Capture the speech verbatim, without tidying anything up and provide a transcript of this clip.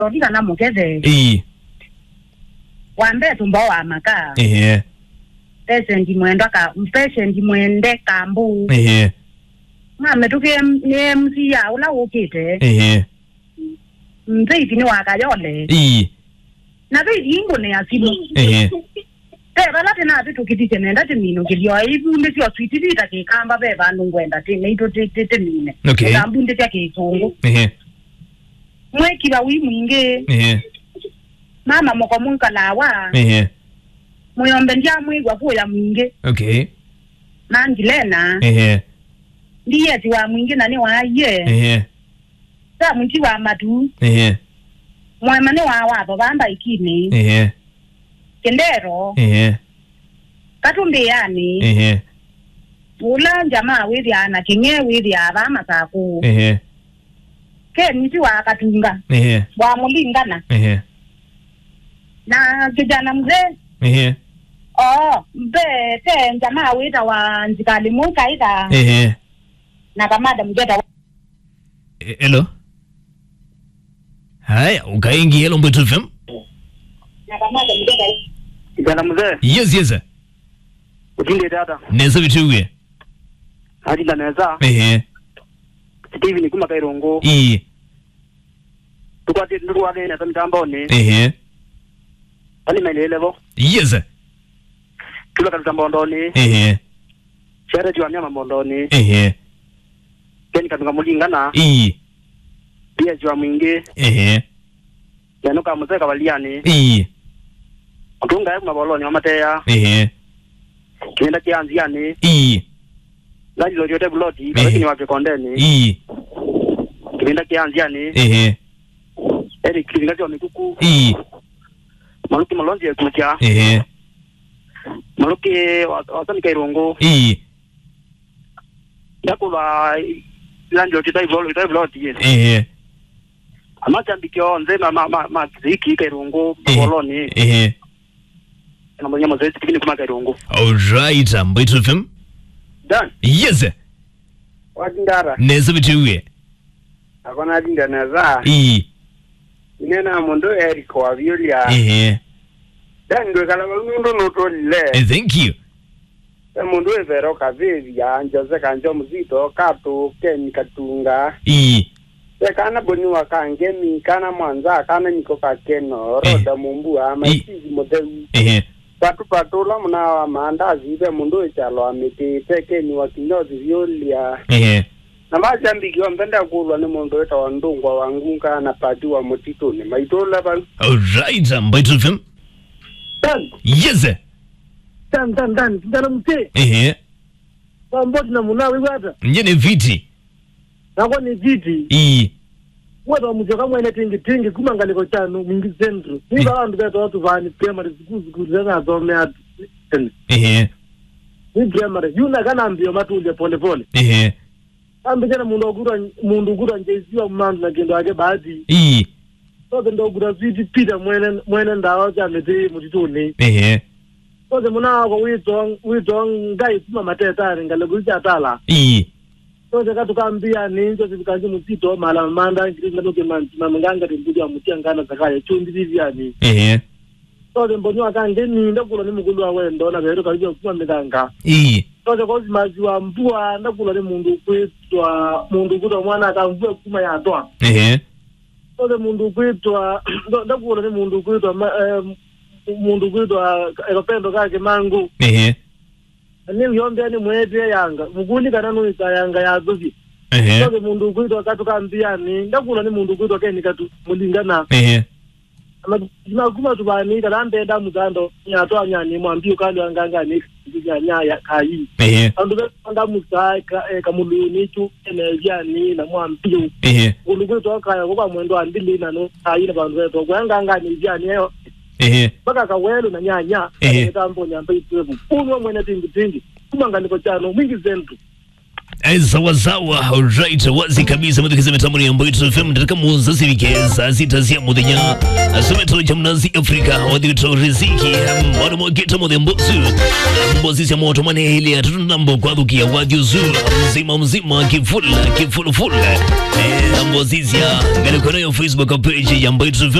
Tũthi kana mũkethe. Ii. Wa mbee tũmbao wa maka. Ehe. Patient mwendwa ka, patient mwende kambu. Ehe. Mamĩtũkĩe nĩ M C ya ũla ũkĩte. Ehe. Mzeiti nĩ wa Kayole. Ii. Na ve ithingũne ya simu. Ehe. Ve vala tĩnavĩtũkĩthisye nenda tĩminũkĩlyo. Ivundĩsyo switi vita kĩkamba ve vandũ ngwenda tĩ, naitũ tĩ, tĩ, tĩmine. Okay. Ũtambundĩsya kĩsũngũ. Ehe. Mwĩkiva wĩ mwingĩ. Ehe. Mama mũko mwĩkalawa. Ehe. Mũyombe ndyamwĩw'a kũya mwingĩ. Okay. Mangilena. Ehe. Ndieti wa mwingĩ na nĩ waie. Ehe. Samuti wa matu. Ehe. Mwema nĩ wa watho vamba ikini. Ehe. Kindero. Ehe. Katumbĩanĩ. Ehe. Ũla njamaa wĩthĩaa na kĩng'e wĩthĩaa vaa Masakũ. Ehe. Keni ti wa Katunga. Ehe. Wa Mũlingana. Ehe. Na kijana mzee. Ehe. Oo, mbe, te njamaa wĩtawa Nzikali Mũkaitha. Ehe. Na kamada mzee tawa. E, hello. Haya, ukaingi hello Mbwetu F M. Kijana mzee. Yes, yes. Utinde dada. Neza bitiwe. Atinda neza. Ehe. Steven kuma Kairungu. Ii. Tukwatĩ ndũtũwanene ta mitamboni. Ehe. Ani mailele vo. Yes. Tula katuta mbondoni. Ehe. Shere jua nyama mbondoni. Ehe. Keni katunga mulingana. Ii. Pia jua mwingi. Ehe. Neno ka museka valiani. Ii. Utunga ya maboloni wa mateya. Ehe. Kinenda kia nziani. Ii. Lani lo yote buloti, ii, lakini wa kikondeni. Ii. Kinenda kia nziani. Ehe. Eri kilinga cha mikuku. Ii. Maluki malonzi ya kucha. Ehe. Maluki wa, wa sani kairungu. Ii. Ndakũlwa landlord tai vloti, tai vloti, yes. Ehe. Amachambikio nze ma, ma, ma, ma kiziki kairungu, ehe, boloni. Ehe. Na mwenye mzee tikini kuma kairungu. All right, Mbwetu F M. Dan. Yes. Watindara. Neza bitiwe. Akona atinda neza. Ii. Inena mũndũ Eric Waviulia. Ehe. Dan ndwĩkala vau nũndũ nũtũlile. Eh, thank you. Ve mũndũ wĩ Vero Kavĩvya, Jose Kanjo Mzito, Katũ, Ken Katunga. Ii. Ve kana Boni wa Kangemi, kana Mwanza, kana Niko Kakeno, ii, Roda Mumbua, ii, Maisizi Mũtheu. Ehe. Patu patu ũla mũna wa maandazi, ve mũndũ wĩ kyalo wa mĩtĩ, ve Ken wa Kinyozi Viulia. Ehe. Na mashabiki onthe ndakũlwa nĩ mũndũ wĩtawa Ndũngwa wa Ngunga na Pati wa Mũtitũnĩ. Maitũla vau. All right, Mbwetu F M. Dan. Yes. Dan, Dan, Dan, Dan, mzee. Ehe. Pamboti na muna wĩwata. Nye nĩ fiti. Nakwa nĩ fiti. Ii. Wetwa mũsyoka mwene tingi tingi kuma ngalĩko kyanu Mwingi Central. Ii. Niva andũ vetwa tuvani primary school, school zena thomea tene. Ehe. Ni primary. Yuna kana mbio matulye pole pole. Ehe. Ambĩkya na mũndũ ũkutwa, mũndũ ũkutwa J C wa Mumandu na kĩndũ yake Bahati. Ii. Sose ndokutwa Sweet Peter mwene, mwene ndawa sya mĩtĩ mũtitũnĩ. Ehe. Sose mũna wakwa wĩtwa, wĩtwa Ngai kuma Matetanĩ, ngalĩko isu sya Tala. Ii. Sose katũkambĩanĩ, Joseph Kanji Mũsito, mala manda, ngiri ngalũke manti, mamenganga tĩmbũthya mũtia ngana sakaya, chumbi viviani. Ehe. Sose mbonyo akangeni, ndakũlwa nĩ mũkũlũ wa wendo, na verũ kavivya kuma mĩthanga. Ii. Sose kosi masi wa mbua, ndakũlwa nĩ mũndũ kwĩtwa, mũndũ kwĩtwa mwana akamvua kuma yatwa. Ehe. Sose mũndũ kwĩtwa, ndo-, ndakũlwa nĩ mũndũ kwĩtwa, ma-, eh, mũndũ kwĩtwa, eh, kapendo ka Kĩmangũ. Ehe. Na nĩ wĩombea nĩ mwetee yanga, mũkũni kana nũĩsa yanga ya thũvi. Ehe. Sose mũndũ kwĩtwa Katũ ka Mbiani, ndakũlwa nĩ mũndũ kwĩtwa Keni Katũ, Mũlingana. Ehe. Na kuma tũvanĩi kana mbenda mũtando, nĩ atwanyani mwambi ũkalwa ngangani, ya nyaya kai. Ehe. Andũ ve anda mũsa ka, eh, kamũlũnĩ tu, ene viani na mwambi. Ehe. Ũndũ kwĩtwa kaya kwa mwendo wa ndili na no, kai na vandu vetwa kwa ngangani viani yo. Ehe. Mpaka kawelo na nyanya, ehe, tambo nyamba itwebu. Unwa mwene tingi tingi. Kuma ngalĩko kyano, Mwingi Central. Eh, sawa sawa, alright, wazi kabisa, mwathikĩĩsya mĩtambo ya Mbaitu F M, ndatĩka mũonza sivike saa sita sya mũthenya. Asome tolo cha mnazi Afrika, wathi witũ Riziki, em, mwana mwa Gita Mũthembosu. Mbozi sya moto mane ile ya tutu nambo kwa thukia wathi uzu, mzima mzima, kifula, kifulufula. Eh, mbozi sya, ngale kwa nayo Facebook page ya Mbaitu F M.